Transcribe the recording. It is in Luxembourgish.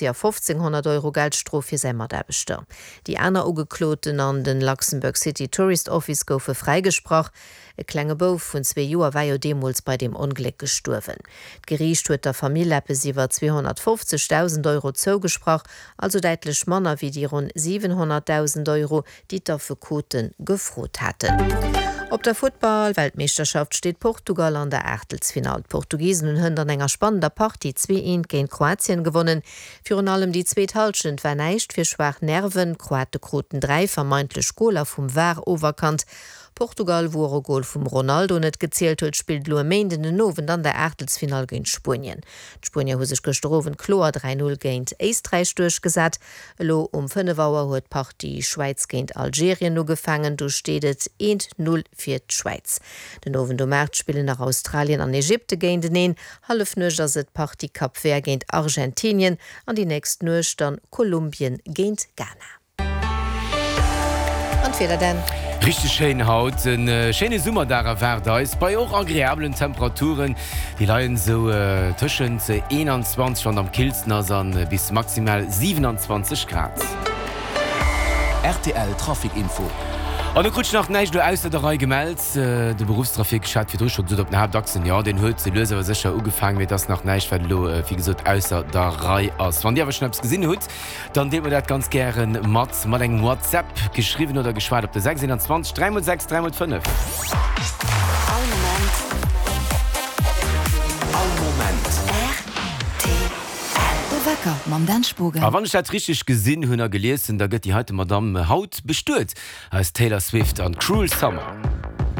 A 1.500 Euro Geldstrof fir säi Mataarbechter. Déi aner Ugekloten an den Luxembourg City Tourist Office goufe fräigesprach. E klenge Bouf vun zwee Joer war jo deemools bei deem Ongléck gestuerwen. D'Geriicht huet der Famill eppes iwwer 250.000 Euro zougesprach, also däitlech manner wéi déi ronn 700.000 Euro, déi d'Affekote gefrot haten. Op der Futtball-Weltmeeschterschaft steet Portugal an der Aachtelsfinall. D'Portugisen hunn hënt an enger spannender Partie 2, 1 géint Kroatien gewonnen. Virun allem déi zweet Hallschent war näischt fir schwaach Nerven. D'Kroate kruten 3 vermeintlech Goler vum var oferkannt. Portugal, wou och e Gol vum Ronaldo net gezielt huet, spillt elo e Méinden den Owend an der Aachtelsfinall géint Spuenien. D'Spuenier hu sech gëschter Owend kloer 3, 0 géint Éisträich duerchgesat. Elo um 5 Auer huet d'Partie Schwäiz géint Algerien ugefaangen. Do steet et 1, 0 fir d'Schwäiz. Den Owend um 8 spillen nach Australien an Ägypte géinteneen. Hallefnuecht ass et d'Partie Cap Vert géint Argentinien an déi nächst Nuecht dann Kolumbien géint Ghana. An d'Wieder dann. Richteg schéin haut, en schéine Summerdag erwaart eis bei och agreablen Temperaturen. Déi leien esou tëschent 21, wann et am killsten ass, an bis maximal 27 Grad. Rtl Trafic Info. An do krut ech nach näischt elo ausser der Rei gemellt. De Beruffstrafic, ech hat virdru scho gesot, op den Haaptachsen, jo, deen huet sou lues awer sécher ugefaangen, mee et ass nach näischt, wat elo, wéi gesot, ausser der Rei ass. Wann Dir awer schonn eppes gesinn hutt, Dann deelt mer dat ganz gären mat, mat engem WhatsApp, geschriwwen oder geschwat op de 6 21 3 x 6 3 x 5. All Moment. All Moment. Rtl. De Wecker mam Dan Spogen. A wann ech dat richteg gesinn hunn a gelies hunn, da gëtt déi heite Madamm haut bestuet, eis Taylor Swift an Cruel Summer.